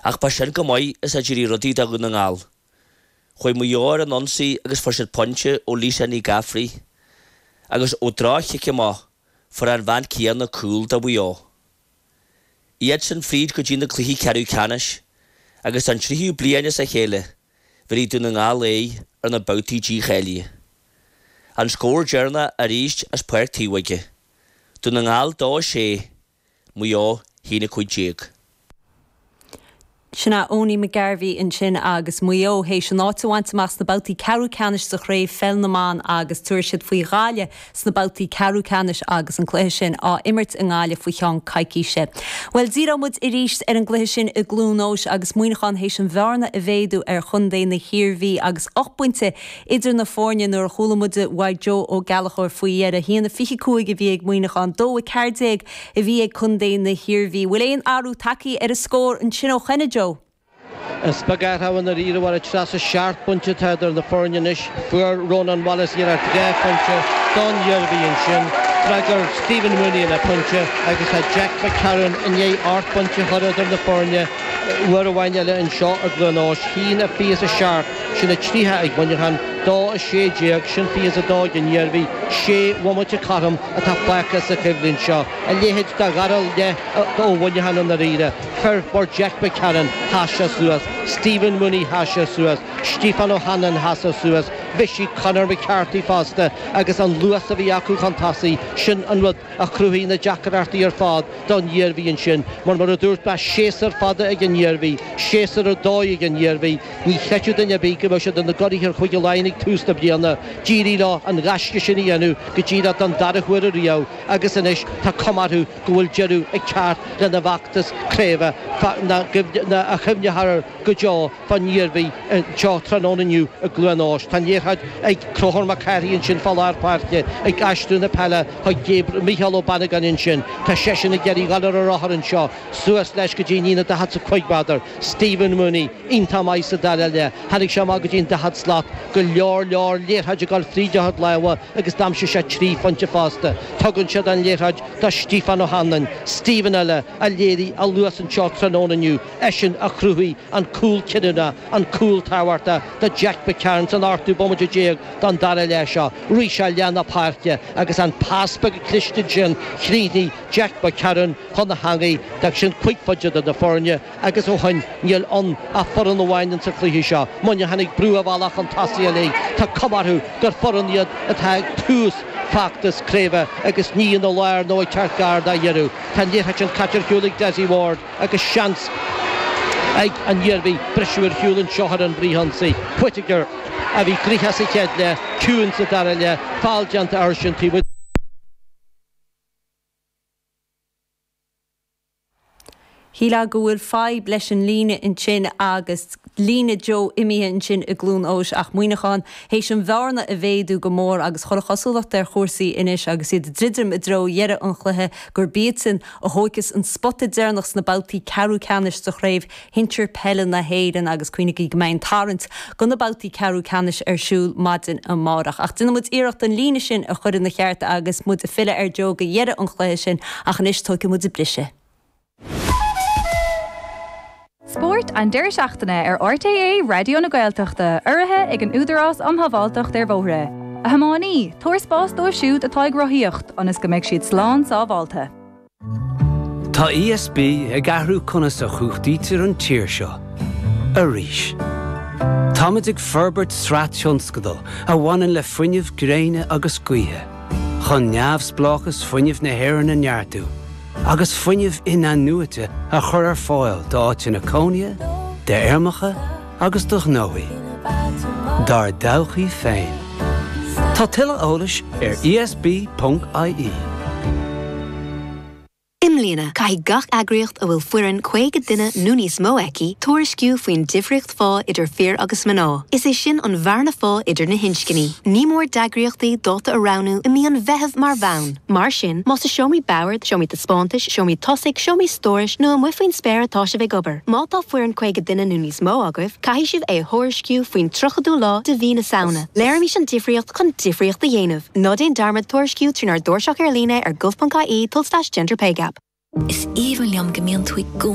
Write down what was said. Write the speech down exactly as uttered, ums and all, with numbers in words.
Ach ba sin go maith is a d'éirigh rudaí do Dhún na nGall. Chuaigh Maigh Eo ar an ionsaí agus fuair siad pointe ó Lisa Ní Ghafraidh. Agus ó dhroch-chic amach, fuair an bhean chéanna cúl do Mhaigh Eo. Iadsan fríd go dtí na cluichí ceathrú ceannais agus an tríú bliain as a chéile, bhéarfaidh Dún na nGall aghaidh ar na babhtaí dícháilithe. An scór deireanach arís as Páirc Taobh Dún na nGall dó a sé, Maigh Eo haon a cúig déag. Sin é Owenie McGarvey ansin agus Maigh Eo théis an áit a bhaint amach sna babhtaí ceathrú ceannais sa chraobh pheil na mban agus tabharfaidh siad faoi Ghaillimh sna babhtaí ceathrú ceannais agus an cluiche sin á imirt i nGaillimh faoi cheann coicíse. Well díreoidh muid arís ar an gcluiche sin i gCluain Eois agus Muineachán théis an bhearna a mhéadú ar chontae na hIarmhí agus ocht bpointe idir na foirne nuair a chuala muid uaidh Joe Ó Gallchóir faoi dheireadh a haon a fiche cúig a bhí ag Muineachán dó a ceathair déag a bhí ag contae na hIarmhí. Bhfuil aon athrú tagtha ar an scór ansin ó cheana Joe. Is beag athrú i ndáiríre mar atá seacht bpointe idir na foirne anois fuair Ronan Wallace iarracht dhá phointe don Iarmhí ansin. D'fhreagair Stephen Mooney le pointe agus tá Jack McCarron i ndiaidh ocht bpointe a chur idir na foirne uair amháin eile anseo i gCluain Eois haon a fiche a seacht sin a tríocha ag Muineachán dó a sé déag sin fiche a dó ag an Iarmhí sé bhomaite cothrom atá fágtha sa choimhlint seo a leithéid de dhara leath ó Mhuineachán i ndáiríre. Fir mar Jack McCarron sheas sé suas, Stephen Mooney sheas sé suas, Stephen O'Hanlon sheas sé suas, Bhí Conor McCarthy fosta agus an luas a bhí acu chun tosaigh sin an rud a chruthaigh na deacrachtaí ar fad don Iarmhí ansin, mar mar a dúirt mé séasúr fada ag an Iarmhí, séasúr ar dóigh ag an Iarmhí, ní chreidfeadh duine ar bith go mbeadh siad ina gcuraidh ar Chúige Laighean ag tús na bliana, d'éirigh leo an gaisce sin a dhéanamh go díreach don dara huair riamh agus anois tá cuma orthu go bhfuil deireadh ag teacht lena bhfeachtas craoibhe a chuimhneofar go deo fán Iarmhí seo tráthnóna inniu i gCluain Eois. Tá liathróid ag Conchúr Mac Cárthaigh ansin fá lár páirce ag aistriú na peile chuig Micheál Ó Bannagáin ansin. Tá seisean ag iarraidh dul ar a rothar anseo suas leis go dtí an líne daichead is a cúig méadar. Stephen Mooney iontach maith sa dara leath. Tháinig sé amach go dtí an daichead slat go leor leor liathróid ag dul fríd a chuid lámha agus d'aimsigh sé trí phointe fosta. Tugann siad an liathróid do Stephen O'Hanlon, Stephen eile a léirigh a luas anseo tráthnóna inniu eisean a chruthaigh an cúl cinniúnach an cúl tábhachtach do Jack McCarron san ochtú bomaite déag don dara leath seo. Rith sé leath na páirce agus an pas beag cliste sin chríochnaigh Jack McCarron chun na heangaí d'fhág sin cúig phointe idir na foirne agus ó shin níl ann ach foireann amháin sa chluiche seo. Muineachán ag brú a bhealach chun tosaigh uilig Tá cuma orthu gur foireann iad atá ag tús feachtas craoibhe agus ní ina lár nó ag teacht gar dá dheireadh. Tá liathróid sin caite ar shiúl ag Dessie Ward agus seans ag an Iarmhí briseadh ar shiúl anseo ar an bhfrithionsaí. Whittaker a bhí gnoitheach sa chéad leath, ciúin sa dara leath, feall déanta air sin taobh Shílfeá go bhfuil fadhb leis an líne ansin agus líne Joe imithe ansin i gCluain Eois ach Muineachán théis an bhearna a mhéadú go mór agus chuir cosúlacht ar chúrsaí anois agus iad ag druidim i dtreo dheireadh an chluiche gur iadsan a thógfas an spota deireanach sna babhtaí ceathrú ceannais sa chraobh shinsir peile na hÉireann agus cuimhnigí go mbeidh an tarraingt do na babhtaí ceathrú ceannais ar siúl maidin amárach. Ach déanfaidh muid iarracht an líne sin a chur ina cheart agus muid ag filleadh ar Joe go dheireadh an chluiche sin ach anois tógfaidh muid briseadh. Spórt an deireadh seachtaine ar RTÉ Raidió na Gaeltachta urraithe ag an Údarás um Shábháilteacht ar Bhóithre. A thiománaí, tabhair spás dóibh siúd atá ag rothaíocht ionas go mbeidh siad slán sábháilte. Tá ESB ag athrú conas a chumhachtaítear an tír seo. Arís. Táimid ag forbairt sraith tionscadal a bhaineann le fuinneamh gréine agus gaoithe, chun neamhspleáchas fuinnimh na hÉireann a neartú, agus fuinneamh in-athnuaite a chur ar fáil d'áiteanna cónaithe, d'fheirmeacha agus do ghnóthaí. Dár dtodhchaí féin. Tá tuilleadh eolais ar ESB.ie. I mbliana caithfidh gach eagraíocht a bhfuil foireann caoga duine nó níos mó aici tuairisciú faoin difríocht phá idir fir agus mná. Is é sin an bhearna phá idir na hinscní. Ní mór d'eagraíochtaí dáta a roghnú i mí an Mheithimh mar bhonn. Mar sin, más i seomraí boird, seomraí taispeántais, seomraí tosaigh, seomraí stórais nó amuigh faoin spéir atá sibh ag obair. Má tá foireann caoga duine nó níos mó agaibh, caithfidh sibh é a thuairisciú faoin tríochadú lá de mhí na Samhna. Léirímis an difríocht chun difríocht a dhéanamh. Ná déan dearmad tuairisciú trínár dtairseach ar líne ar gov.ie tulslais gender pay gap. Is aoibhinn liom go mbíonn tú i gcónaí